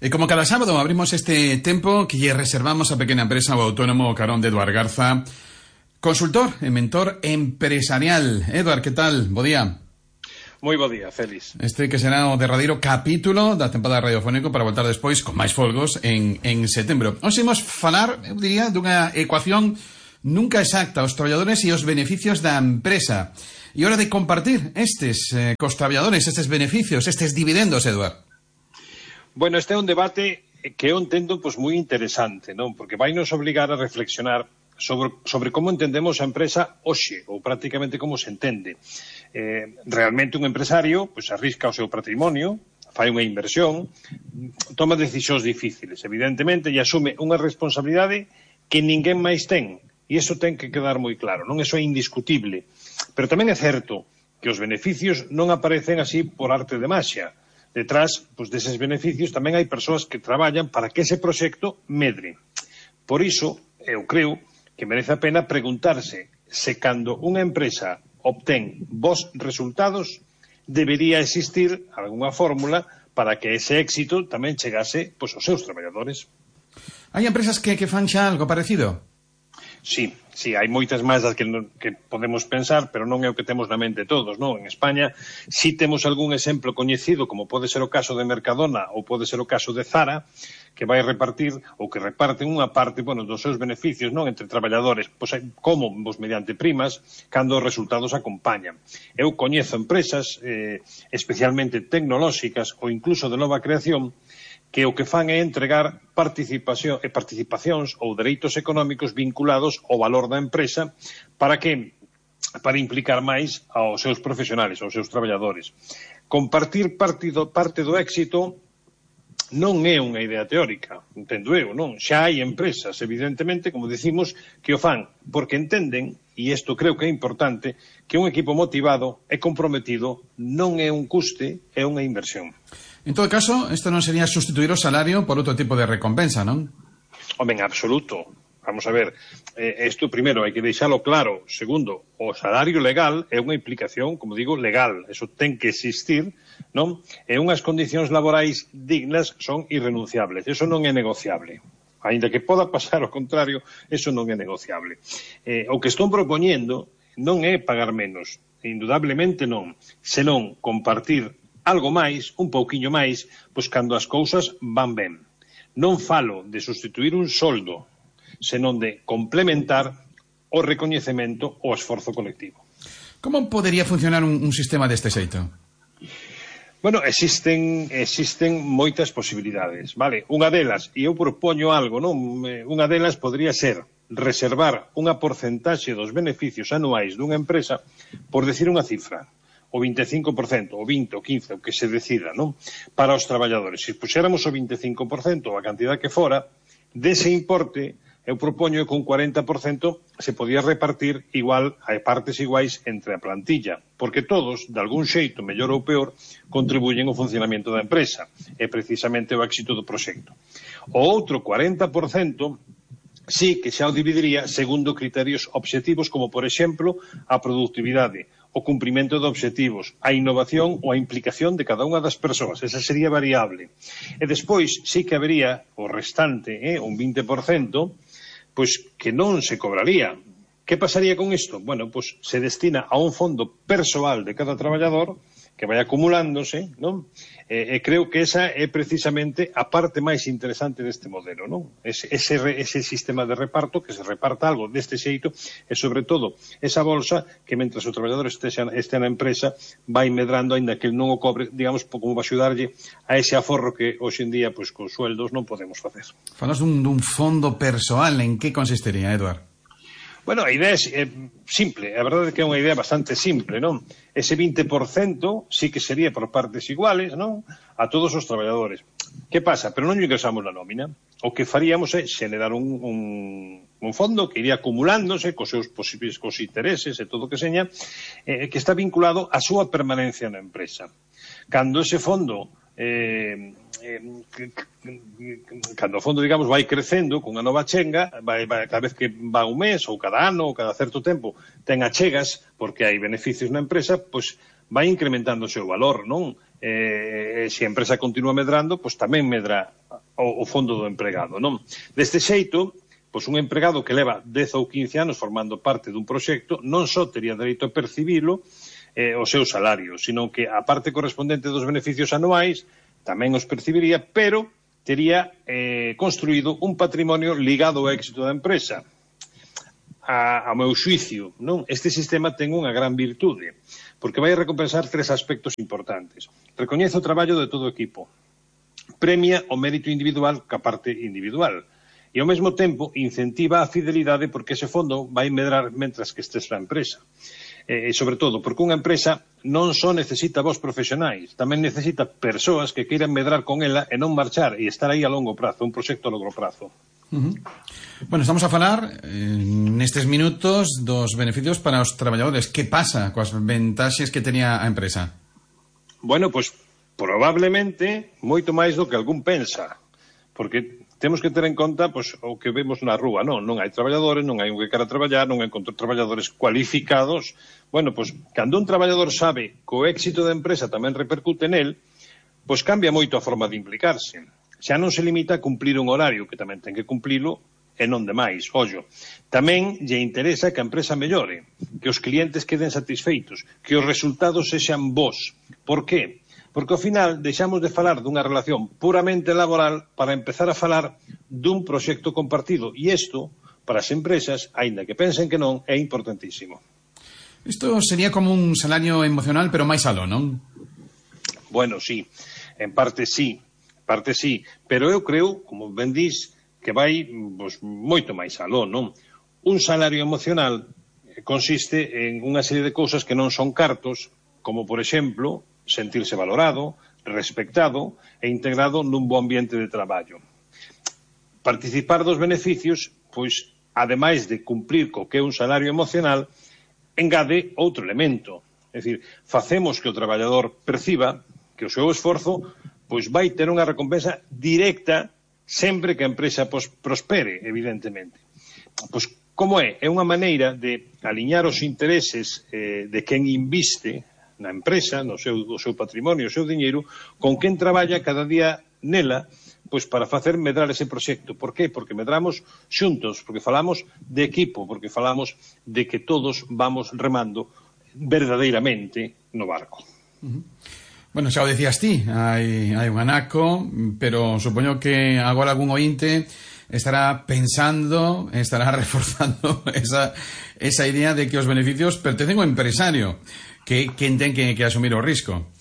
E como cada sábado abrimos este tempo que lle reservamos a pequena empresa o autónomo carón de Eduard Garza, consultor e mentor empresarial. Eduard, que tal? Bo día. Moi bo día, Félix. Este que será o derradeiro capítulo da tempada radiofónico para voltar despois con máis folgos en setembro. Hoxe imos falar, eu diría, dunha ecuación nunca exacta, os traballadores e os beneficios da empresa. E hora de compartir estes cos traballadores, estes beneficios, estes dividendos, Eduard. Bueno, este é un debate que eu entendo moi interesante, non? Porque vai nos obligar a reflexionar sobre como entendemos a empresa hoxe, ou prácticamente como se entende. Realmente un empresario arrisca o seu patrimonio, fai unha inversión, toma decisións difíciles, evidentemente, e asume unha responsabilidade que ninguén máis ten. E iso ten que quedar moi claro, non? Iso é indiscutible. Pero tamén é certo que os beneficios non aparecen así por arte de maxia. Detrás deses beneficios tamén hai persoas que traballan para que ese proxecto medre. Por iso, eu creo que merece a pena preguntarse se cando unha empresa obtén bons resultados debería existir algunha fórmula para que ese éxito tamén chegase aos seus traballadores. Hai empresas que fan xa algo parecido? Sí, hai moitas máis das que podemos pensar, pero non é o que temos na mente todos, non? En España si temos algún exemplo coñecido, como pode ser o caso de Mercadona ou pode ser o caso de Zara, que vai repartir ou que reparten unha parte, dos seus beneficios, non, entre traballadores, como mediante primas, cando os resultados acompañan. Eu coñezo empresas, especialmente tecnolóxicas ou incluso de nova creación, que o que fan é entregar participacións ou dereitos económicos vinculados ao valor da empresa para implicar máis aos seus profesionales, aos seus traballadores. Compartir parte do éxito non é unha idea teórica, entendo eu, non? Xa hai empresas, evidentemente, como dicimos, que o fan porque entenden, e isto creo que é importante, que un equipo motivado e comprometido non é un custe, é unha inversión. En todo caso, isto non sería sustituir o salario por outro tipo de recompensa, non? Home, en absoluto. Vamos a ver, isto primeiro hai que deixalo claro. Segundo, o salario legal é unha implicación, como digo, legal. Eso ten que existir, non? E unhas condicións laborais dignas son irrenunciables. Eso non é negociable. Ainda que poda pasar ao contrario, eso non é negociable. O que estón propoñendo non é pagar menos. Indudablemente non. Senón compartir algo máis, un pouquiño máis, cando as cousas van ben. Non falo de sustituir un soldo, senón de complementar o recoñecemento ao esforzo colectivo. Como podería funcionar un sistema deste xeito? Bueno, existen moitas posibilidades, vale? Unha delas, e eu propoño algo, non? Unha delas podría ser reservar unha porcentaxe dos beneficios anuais dunha empresa por decir unha cifra. O 25%, o 20%, o 15%, o que se decida, non? Para os traballadores. Se puxéramos o 25%, a cantidad que fora, dese importe, eu propoño que un 40% se podía repartir igual a partes iguais entre a plantilla, porque todos, de algún xeito, mellor ou peor, contribuyen ao funcionamento da empresa, e precisamente o éxito do proxecto. O outro 40% sí que xa o dividiría segundo criterios obxectivos, como, por exemplo, a produtividade, o cumprimento de obxectivos, a innovación ou a implicación de cada unha das persoas. Esa sería variable. E despois sí que habería o restante, un 20%, que non se cobraría. Que pasaría con isto? Bueno, se destina a un fondo persoal de cada traballador que vai acumulándose, non? E creo que esa é precisamente a parte máis interesante deste modelo, non? Ese sistema de reparto, que se reparta algo deste xeito, e sobre todo esa bolsa que mentras o traballador este na empresa vai medrando, aínda que non o cobre, digamos, como vai axudarlle a ese aforro que hoxe en día, con sueldos non podemos facer. Falas dun fondo persoal, en que consistiría, Eduard? Bueno, a idea é simple, a verdade é que é unha idea bastante simple, non? Ese 20% sí que sería por partes iguales, non? A todos os traballadores. Que pasa? Pero non ingresamos na nómina. O que faríamos é xenerar un fondo que iría acumulándose cos seus posibles intereses e todo o que seña, que está vinculado á súa permanencia na empresa. Cando ese fondo cando o fondo, digamos, vai crecendo con a nova chenga, cada vez que va un mes ou cada ano ou cada certo tempo ten achegas porque hai beneficios na empresa, vai incrementando o seu valor, non? Se a empresa continúa medrando, tamén medra o fondo do empregado, non? Deste xeito, pois un empregado que leva 10 ou 15 anos formando parte dun proxecto non só tería dereito a percibilo o seu salario, sino que a parte correspondente dos beneficios anuais tamén os percibiría, pero tería construído un patrimonio ligado ao éxito da empresa. A meu xuicio, non? Este sistema ten unha gran virtude, porque vai recompensar 3 aspectos importantes. Recoñece o traballo de todo o equipo, premia o mérito individual ca parte individual, e ao mesmo tempo incentiva a fidelidade porque ese fondo vai medrar mentras que estés na empresa. E sobre todo, porque unha empresa non só necesita vos profesionais, tamén necesita persoas que queiran medrar con ela e non marchar e estar aí a longo prazo, un proxecto a longo prazo. Bueno, estamos a falar nestes minutos dos beneficios para os traballadores. Que pasa coas ventaxes que tenía a empresa? Bueno, pois probablemente moito máis do que algún pensa, porque temos que ter en conta pois, o que vemos na rúa, non hai traballadores, non hai un que quera traballar, non encontro traballadores cualificados. Bueno, pois cando un traballador sabe que o éxito da empresa tamén repercute nel, pois cambia moito a forma de implicarse. Xa non se limita a cumplir un horario, que tamén ten que cumplilo, e non demais. Ollo, tamén lle interesa que a empresa mellore, que os clientes queden satisfeitos, que os resultados sexan bons. Por qué? Porque ao final deixamos de falar dunha relación puramente laboral para empezar a falar dun proxecto compartido. E isto, para as empresas, aínda que pensen que non, é importantísimo. Isto sería como un salario emocional, pero máis aló, non? Bueno, sí, en parte sí, pero eu creo, como ben dís, que vai pois, moito máis aló, non? Un salario emocional consiste en unha serie de cousas que non son cartos, como, por exemplo, sentirse valorado, respectado e integrado nun bo ambiente de traballo. Participar dos beneficios, pois, ademais de cumplir co que é un salario emocional, engade outro elemento. É dicir, facemos que o traballador perciba que o seu esforzo pois vai ter unha recompensa directa sempre que a empresa prospere, evidentemente. Pois como é? É unha maneira de aliñar os intereses de quen inviste na empresa, no seu patrimonio, o seu diñeiro, con quen traballa cada día nela, pois para facer medrar ese proxecto. Por qué? Porque medramos xuntos, porque falamos de equipo, porque falamos de que todos vamos remando verdadeiramente no barco. Bueno, xa o decías ti, hai un anaco, pero supoño que agora algún ointe estará pensando, estará reforzando esa idea de que os beneficios pertencen ao empresario, que quen ten que asumir o risco.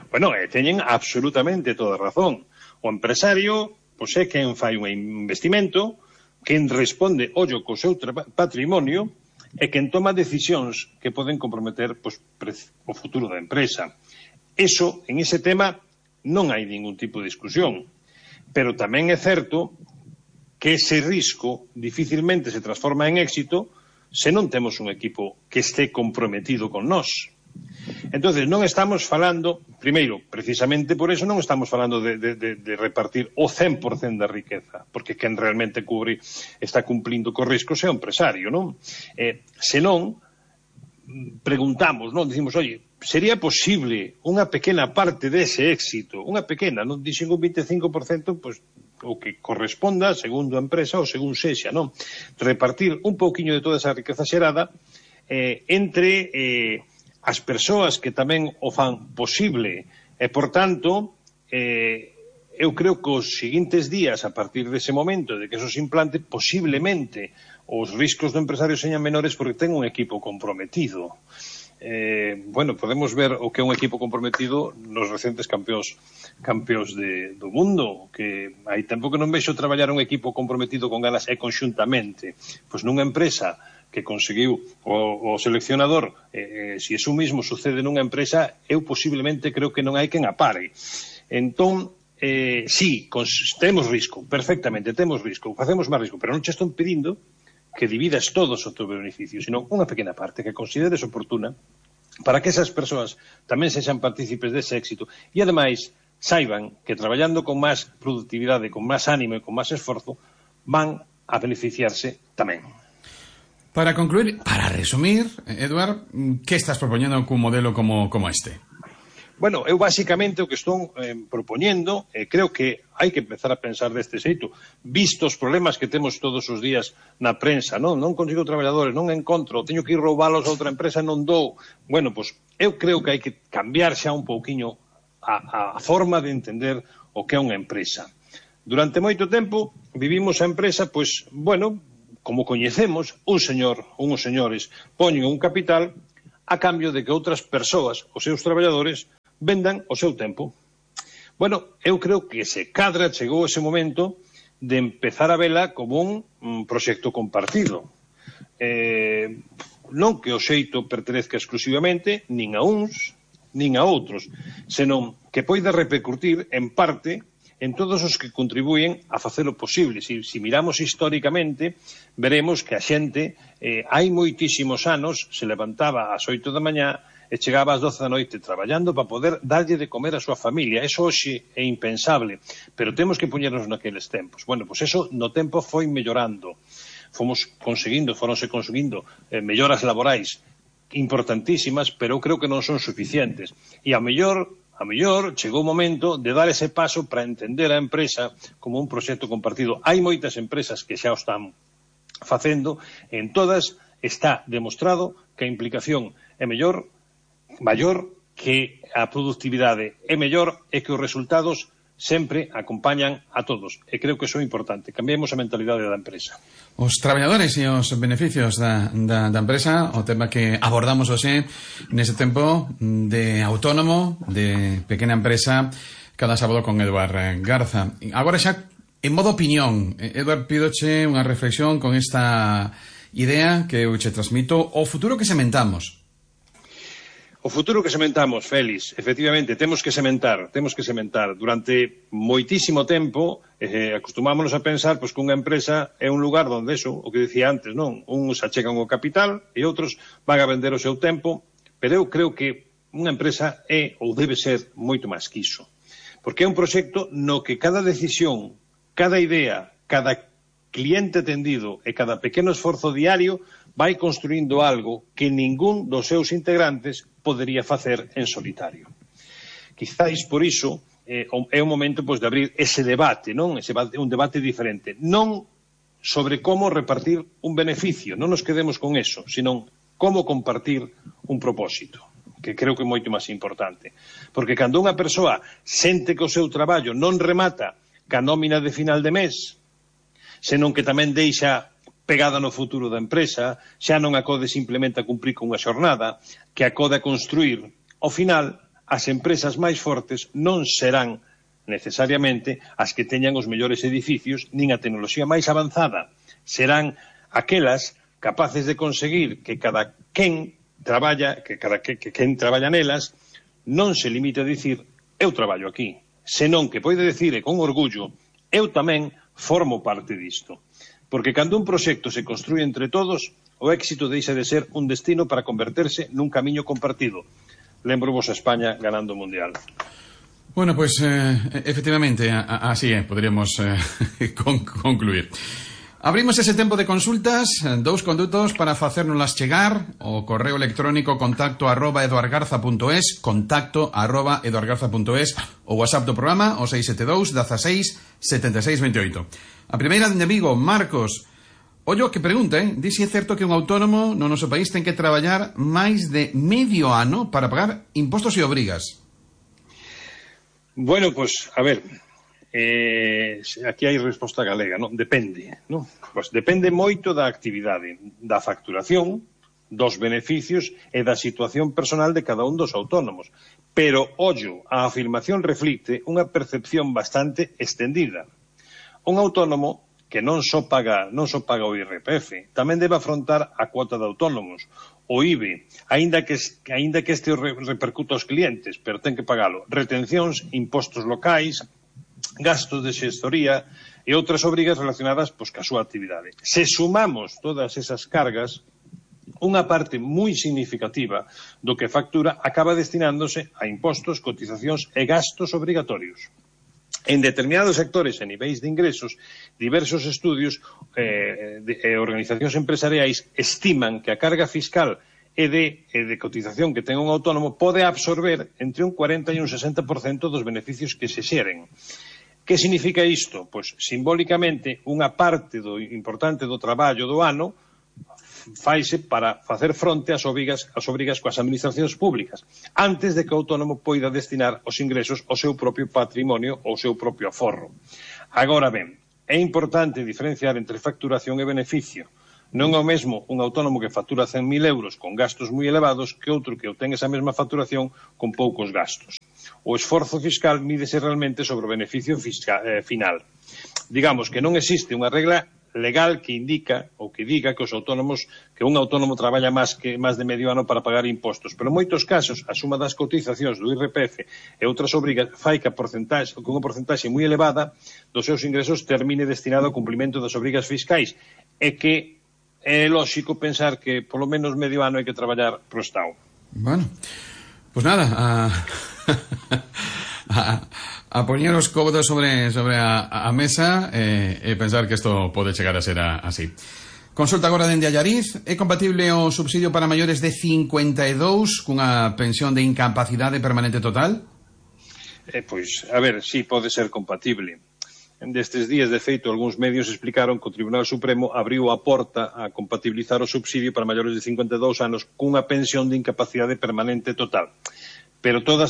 Bueno, teñen absolutamente toda razón. O empresario, pois é quen fai un investimento, quen responde ollo co seu patrimonio e quen toma decisións que poden comprometer pois, o futuro da empresa. Eso, en ese tema, non hai ningún tipo de discusión. Pero tamén é certo que ese risco dificilmente se transforma en éxito se non temos un equipo que este comprometido con nós. Entonces, non estamos falando, primeiro, precisamente por eso non estamos falando de repartir o 100% da riqueza, porque quen realmente está cumplindo co risco é o empresario, non? Senón, preguntamos, non? Dicimos, oye, sería posible unha pequena parte dese éxito, unha pequena, non dixen un 25%, pois o que corresponda, segundo a empresa ou según sexa, non? Repartir un pouquiño de toda esa riqueza xerada entre as persoas que tamén o fan posible. E, por tanto, eu creo que os seguintes días, a partir dese momento de que eso se implante, posiblemente os riscos do empresario señan menores porque ten un equipo comprometido. Bueno, podemos ver o que é un equipo comprometido nos recentes campeóns do mundo, que hai tempo que non vexo traballar un equipo comprometido con ganas e conxuntamente. Pois nunha empresa que conseguiu o seleccionador, se iso mismo sucede nunha empresa, eu posiblemente creo que non hai quen apare. Entón, sí, temos risco, perfectamente, temos risco, facemos máis risco, pero non che estou pedindo que dividas todos o teu beneficio, sino unha pequena parte que consideres oportuna para que esas persoas tamén sexan partícipes dese éxito e, ademais, saiban que traballando con máis productividade, con máis ánimo e con máis esforzo, van a beneficiarse tamén. Para concluir, para resumir, Eduard, que estás propoñendo cun modelo como este? Bueno, eu basicamente o que estou propoñendo, creo que hai que empezar a pensar deste xeito, visto os problemas que temos todos os días na prensa, non consigo traballadores, non encontro, teño que ir roubalos a outra empresa, non dou. Bueno, pois eu creo que hai que cambiar xa un pouquiño a forma de entender o que é unha empresa. Durante moito tempo vivimos a empresa, pois, bueno, como coñecemos, uns señores poñen un capital a cambio de que outras persoas, os seus traballadores, vendan o seu tempo. Bueno, eu creo que se cadra chegou ese momento de empezar a vela como un proxecto compartido. Non que o xeito pertenezca exclusivamente nin a uns, nin a outros, senón que poida repercutir en parte en todos os que contribuyen a facelo posible. Si miramos históricamente, veremos que a xente hai moitísimos anos se levantaba ás 8 da mañá e chegaba ás 12 da noite traballando para poder darlle de comer a súa familia. Eso hoxe é impensable, pero temos que poñernos naqueles tempos. Bueno, pois eso no tempo foi mellorando. Foronse conseguindo melloras laborais importantísimas, pero eu creo que non son suficientes. E a mellor chegou o momento de dar ese paso para entender a empresa como un proxecto compartido. Hai moitas empresas que xa o están facendo, en todas está demostrado que a implicación é maior que a productividade é mellor e que os resultados sempre acompañan a todos. E creo que iso é importante. Cambiemos a mentalidade da empresa. Os traballadores e os beneficios da empresa, o tema que abordamos hoxe nese tempo de autónomo, de pequena empresa, cada sábado con Eduard Garza. Agora xa, en modo opinión, Eduard, pídoche unha reflexión con esta idea que eu che transmito, o futuro que sementamos. O futuro que sementamos, Félix, efectivamente, temos que sementar. Durante moitísimo tempo acostumámonos a pensar pois, que unha empresa é un lugar onde eso, o que dicía antes, non? Uns achegan o capital e outros van a vender o seu tempo, pero eu creo que unha empresa é ou debe ser moito máis que iso. Porque é un proxecto no que cada decisión, cada idea, cada cliente atendido e cada pequeno esforzo diario vai construindo algo que ningún dos seus integrantes podería facer en solitario. Quizáis por iso é o momento pois, de abrir ese debate, non? Un debate diferente. Non sobre como repartir un beneficio, non nos quedemos con eso, sino como compartir un propósito, que creo que é moito máis importante. Porque cando unha persoa sente que o seu traballo non remata ca nómina de final de mes, senón que tamén deixa pegada no futuro da empresa, xa non acode simplemente a cumprir con unha xornada, que acode a construir. Ao final, as empresas máis fortes non serán necesariamente as que teñan os mellores edificios nin a tecnoloxía máis avanzada. Serán aquelas capaces de conseguir que cada quen traballa, quen traballa nelas, non se limite a dicir eu traballo aquí, senón que pode dicir con orgullo eu tamén formo parte disto. Porque cando un proxecto se construye entre todos, o éxito deixa de ser un destino para converterse nun camiño compartido. Lembro-vos a España ganando o Mundial. Bueno, pues efectivamente, así podríamos concluir. Abrimos ese tempo de consultas, dous condutos para facérnoslas chegar, o correo electrónico contacto@eduardgarza.es, contacto@eduardgarza.es, o WhatsApp do programa, o 672 16 76 28. A primeira de Vigo, Marcos. Ollo que pregunta, di se é certo que un autónomo no noso país ten que traballar máis de medio ano para pagar impostos e obrigas. Bueno, pues, a ver, aquí hai resposta galega, non? Depende, non? Pues depende moito da actividade, da facturación, dos beneficios e da situación personal de cada un dos autónomos. Pero, ollo, a afirmación reflicte unha percepción bastante extendida. Un autónomo que non só paga o IRPF, tamén debe afrontar a cuota de autónomos, o IBE, aínda que este repercuta aos clientes, pero ten que pagalo. Retencións, impostos locais, gastos de xestoría e outras obrigas relacionadas pois, ca súa actividade. Se sumamos todas esas cargas, unha parte moi significativa do que factura acaba destinándose a impostos, cotizacións e gastos obrigatorios. En determinados sectores e niveis de ingresos, diversos estudios e organizacións empresariais estiman que a carga fiscal e de cotización que ten un autónomo pode absorber entre un 40 e un 60% dos beneficios que se xeren. Que significa isto? Pois, simbólicamente, unha parte importante do traballo do ano faise para facer fronte ás obrigas coas administracións públicas, antes de que o autónomo poida destinar os ingresos ao seu propio patrimonio ou ao seu propio aforro. Agora ben, é importante diferenciar entre facturación e beneficio. Non é o mesmo un autónomo que factura 100.000 euros con gastos moi elevados que outro que obtén esa mesma facturación con poucos gastos. O esforzo fiscal mídese realmente sobre o beneficio final. Digamos que non existe unha regla legal que indica ou que diga que un autónomo traballa máis de medio ano para pagar impostos, pero en moitos casos a suma das cotizacións do IRPF e outras obrigas fai que unha porcentaxe moi elevada dos seus ingresos termine destinado ao cumprimento das obrigas fiscais e que é lóxico pensar que polo menos medio ano hai que traballar pro Estado. Bueno, pues nada, a poñer os cómodos sobre a mesa e pensar que isto pode chegar a ser así. Consulta agora dende Allariz. É compatible o subsidio para maiores de 52 cunha pensión de incapacidade permanente total? Pois, a ver, sí, pode ser compatible. Destes días, de feito, algúns medios explicaron que o Tribunal Supremo abriu a porta a compatibilizar o subsidio para maiores de 52 anos cunha pensión de incapacidade permanente total. Pero toda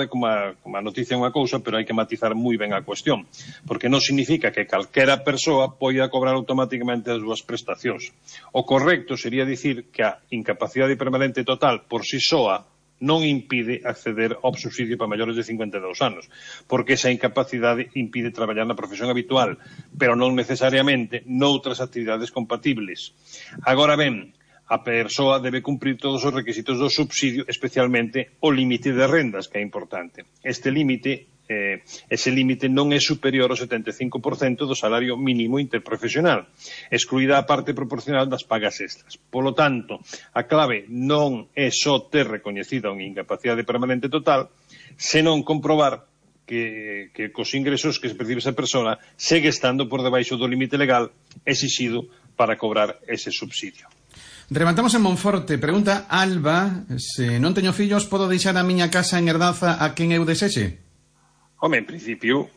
como a noticia é unha cousa, pero hai que matizar moi ben a cuestión, porque non significa que calquera persoa poida cobrar automáticamente as súas prestacións. O correcto sería dicir que a incapacidade permanente total por si soa non impide acceder ao subsidio para maiores de 52 anos, porque esa incapacidade impide traballar na profesión habitual, pero non necesariamente noutras actividades compatibles. Agora ben, a persoa debe cumprir todos os requisitos do subsidio, especialmente o límite de rendas, que é importante. Ese límite non é superior ao 75% do salario mínimo interprofesional, excluída a parte proporcional das pagas extras. Polo tanto, a clave non é só ter recoñecida unha incapacidade permanente total, senón comprobar que cos ingresos que se percibe esa persona segue estando por debaixo do límite legal exixido para cobrar ese subsidio. Rematamos en Monforte. Pregunta Alba: se non teño fillos, podo deixar a miña casa en herdanza a quen eu desexe? Home, en principio,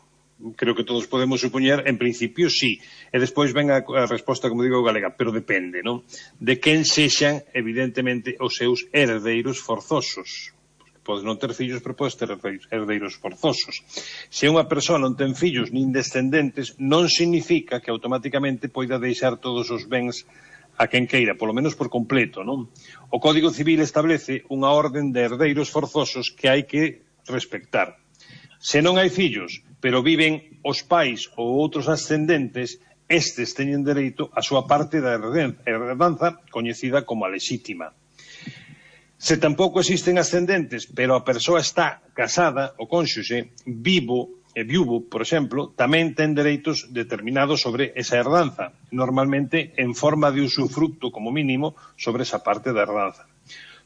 creo que todos podemos supoñer, en principio sí. E despois ven a resposta, como digo, galega, pero depende, non? De quen sexan, evidentemente, os seus herdeiros forzosos. Podes non ter fillos, pero podes ter herdeiros forzosos. Se unha persoa non ten fillos nin descendentes, non significa que automáticamente poida deixar todos os bens a quen queira, polo menos por completo, non? O Código Civil establece unha orden de herdeiros forzosos que hai que respectar. Se non hai fillos, pero viven os pais ou outros ascendentes, estes teñen dereito á súa parte da herdanza coñecida como a lexítima. Se tampouco existen ascendentes, pero a persoa está casada, o cónxuxe, vivo e viúvo, por exemplo, tamén ten dereitos determinados sobre esa herdanza, normalmente en forma de usufructo, como mínimo, sobre esa parte da herdanza.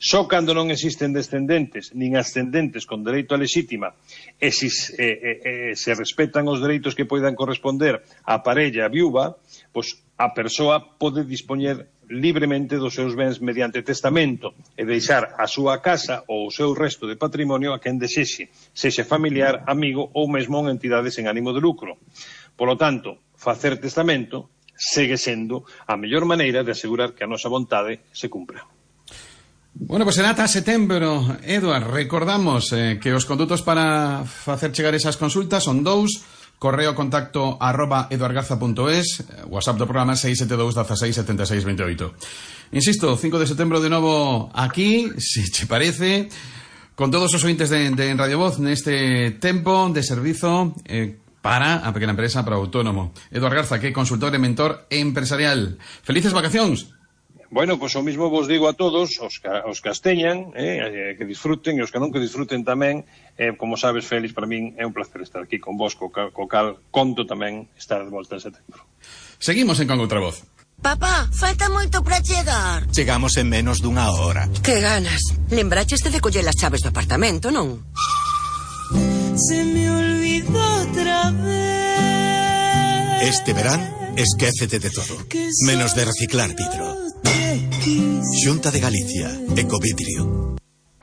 Só cando non existen descendentes nin ascendentes con dereito a lexítima e se respetan os dereitos que poidan corresponder á parella viúva, pois a persoa pode dispoñer libremente dos seus bens mediante testamento e deixar a súa casa ou o seu resto de patrimonio a quen desexe, sexa familiar, amigo ou mesmo unha entidade sen ánimo de lucro. Polo tanto, facer testamento segue sendo a mellor maneira de asegurar que a nosa vontade se cumpra. Bueno, pues será ata setembro. Eduard, recordamos que os condutos para facer chegar esas consultas son dous: correo contacto @eduardgarza.es, WhatsApp do programa 672 16 76 28. Insisto, 5 de setembro de novo aquí, se te parece, con todos os ointes de Radio Voz neste tempo de servizo para a pequena empresa, para o autónomo. Eduard Garza, que é consultor e mentor empresarial. Felices vacacións. Bueno, pois o mismo vos digo a todos, os que as teñan, que disfruten, e os que non que disfruten tamén. Como sabes, Félix, para min é un placer estar aquí con vos, co cal conto tamén estar de volta en setembro. Seguimos en Con Outra Voz. Papá, falta moito para chegar. Chegamos en menos dunha hora. Que ganas. Lembraches de coller as chaves do apartamento, non? Se me olvidó otra vez. Este verán, esquécete de todo, menos de reciclar vidro. Xunta de Galicia, Ecovidrio.